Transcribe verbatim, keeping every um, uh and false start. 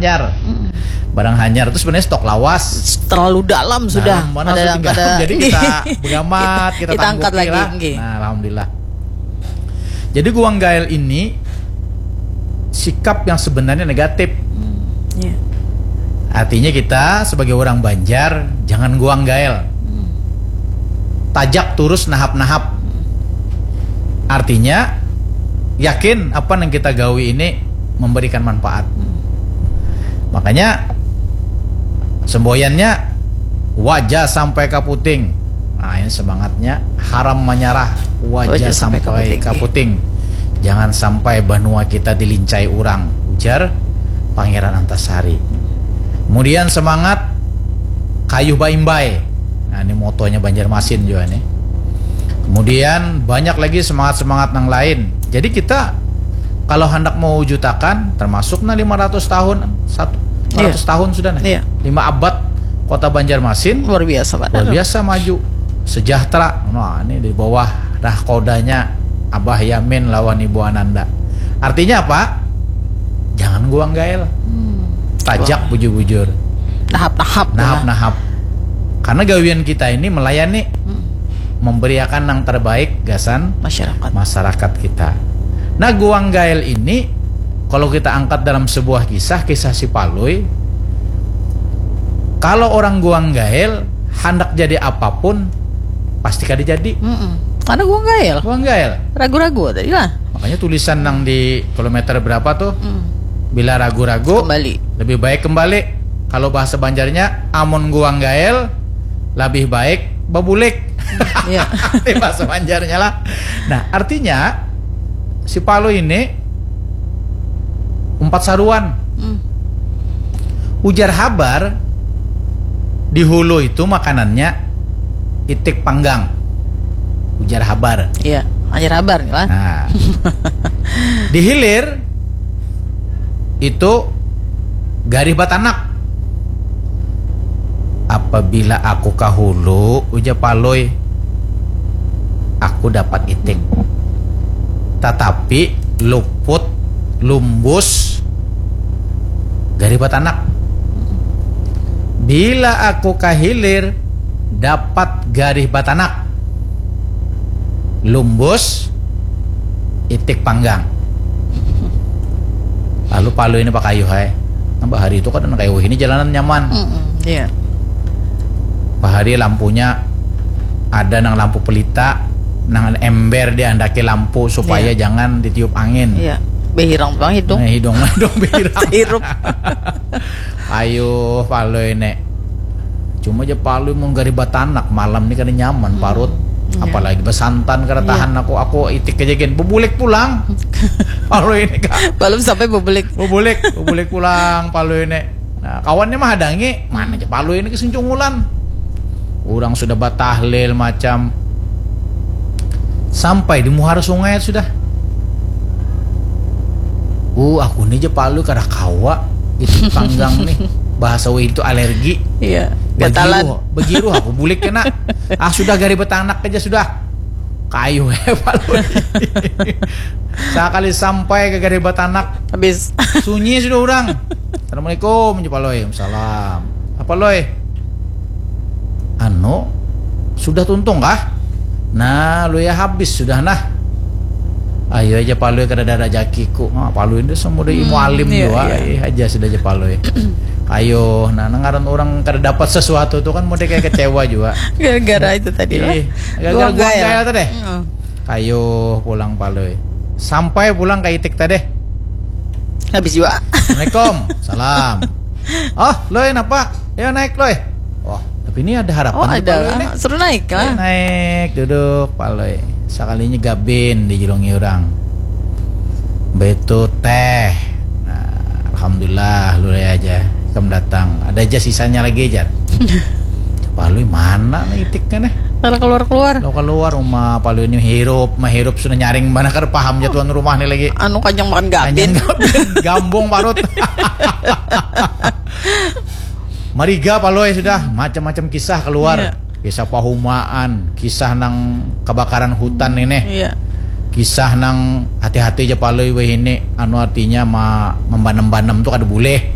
hanyar. Barang hanyar itu sebenarnya stok lawas. Terlalu dalam sudah. Dalam mana sudah tinggal. Jadi kita begamat, kita, kita angkat lagi lah. Nah, alhamdulillah. Jadi guang gael ini sikap yang sebenarnya negatif. Hmm, yeah. Artinya kita sebagai orang Banjar jangan guang gael. Hmm. Tajak turus nahap-nahap. Hmm. Artinya yakin apa yang kita gawi ini memberikan manfaat. Hmm. Makanya semboyannya wajah sampai kaputing. Nah, ini semangatnya haram menyerah wajah, wajah sampai, sampai kaputing. Kaputing. Jangan sampai banua kita dilincai orang, ujar Pangeran Antasari. Kemudian semangat kayuh baimbai. Nah, ini motonya Banjarmasin juga nih. Kemudian banyak lagi semangat-semangat yang lain. Jadi kita kalau hendak mewujudkan termasuk nah lima ratus tahun, satu, lima ratus iya. Tahun sudah nih. Iya. Lima abad kota Banjarmasin luar biasa, Pak. Luar biasa maju. Sejahtera. Nah, ini di bawah dah kodanya Abah Yamin lawan Ibu Ananda. Artinya apa? Jangan guang gael. Hmm. Tajak bujur-bujur. Nahap-nahap. Nahap-nahap. Karena gawian kita ini melayani, hmm, memberiakan yang terbaik gasan masyarakat, masyarakat kita. Nah, guang gael ini kalau kita angkat dalam sebuah kisah, kisah si Palui, kalau orang guang gael hendak jadi apapun pasti kada jadi. Mm-mm. Karena guang gael. Guang gael. Ragu-ragu tadi lah. Makanya tulisan nang di kilometer berapa tuh? Mm. Bila ragu-ragu, kembali. Lebih baik kembali. Kalau bahasa Banjarnya, amun guang gael, lebih baik babulik. Iya. Bahasa Banjarnya lah. Nah, artinya si Palu ini umpat saruan. Hmm. Ujar habar di hulu itu makanannya itik panggang. Ujar habar. Iya, ujar habar lah. Nah. Di hilir itu garih batanak. Apabila aku kahulu, ujar Palui, aku dapat itik. Tatapi luput, lumbus, garih batanak. Bila aku kahilir, dapat garih batanak. Lumbus, itik panggang. Lalu Palui ini pakayuh ai. Nambah hari itu kada nang kaya wahini jalanan nyaman. Mm-mm, iya. Bahari lampunya ada nang lampu pelita, nang ember diandaki lampu supaya iya. Jangan ditiup angin. Iya. Behirang pulang hidung. Nah, hidung dong behirang. Hirup. Ayo Palui nek. Cuma aja Palui mun garih batanak malam ni kada nyaman hmm. Parut. Iya. Apalagi basantan kada iya. Tahan aku aku itik aja gen bebulik pulang. Palui ini kak. Belum sampai bebulik. Bebulik, bebulik pulang Palui ini. Nah, kawannya mah hadangi, mana aja Palui ini kesuncungulan. Orang sudah batahlil macam sampai di muhara sungai sudah. Uh, aku ni aja Palui kada kawa itu panggang nih. Bahasa wih itu alergi. Iya. Begiru, begiru aku bulik kena. Ah sudah gari betanak aja sudah. Kayu ya Palui. Sekali sampai ke gari betanak habis. Sunyi sudah orang. Assalamualaikum, Palui. Salam. Apa Loi? Anu, sudah tuntung kah? Nah, lu ya habis sudah nah. Ayo aja Palui kada ada rajakiku. Nah, Palui itu semua udah hmm, mualim iya, juga. Iya. Eh, aja sudah aja Palui. Ayo, nah ngaran orang kada dapat sesuatu tuh kan mau kayak kecewa juga. Gara-gara itu tadi lah. Iya, gara-gara gua kayak tadi. Hmm. Kayu pulang Palui. Sampai pulang ke itik tadi. Habis juga. Assalamualaikum. Salam. Oh, Loi napa? Ya naik Loi. Wah, tapi ini ada harapan. Oh, ada. Suruh naik lah. Ya, naik duduk Palui. Sekalinya gabin di julungi orang. Betu teh. Nah, alhamdulillah lu aja. Kamu datang. Ada aja sisanya lagi aja. Palui mana nih itiknya nih? Kalau keluar keluar. Kalau keluar rumah Palui ini hirup, mah hirup sudah nyaring mana kada paham jatuhan rumah nih lagi. Anu kanyang makan gabin. Gambung parut. Mariga Palui sudah macam-macam kisah keluar. Iya. Kisah pahumaan, kisah nang kebakaran hutan ini. Iya. Kisah nang hati-hati aja Palui weh ini anu artinya ma, membanem-banem tuh kada boleh.